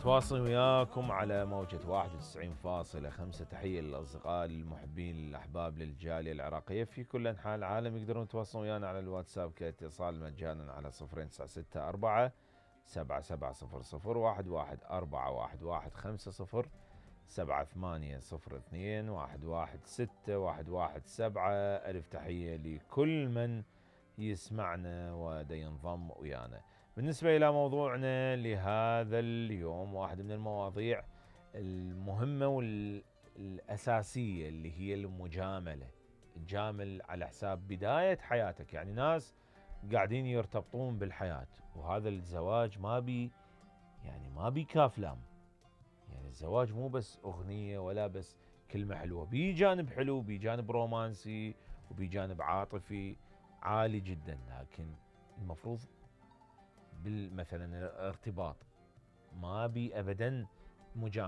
متواصل وياكم على موجة 91.5. تحية للأصدقاء المحبين الأحباب للجالية العراقية في كل أنحاء العالم. يقدرون يتواصلون ويانا على الواتساب كاتصال مجانا على 0964 7700 11 7802 116 ألف تحية لكل من يسمعنا ودا ينضم ويانا. بالنسبة إلى موضوعنا لهذا اليوم، واحد من المواضيع المهمة والأساسية اللي هي المجاملة. تجامل على حساب بداية حياتك. يعني ناس قاعدين يرتبطون بالحياة، وهذا الزواج ما بي كافلام. يعني الزواج مو بس أغنية ولا بس كلمة حلوة، بي جانب حلو، بي جانب رومانسي، وبي جانب عاطفي عالي جدا. لكن المفروض مثلا الارتباط ما بي أبدا مجاملة.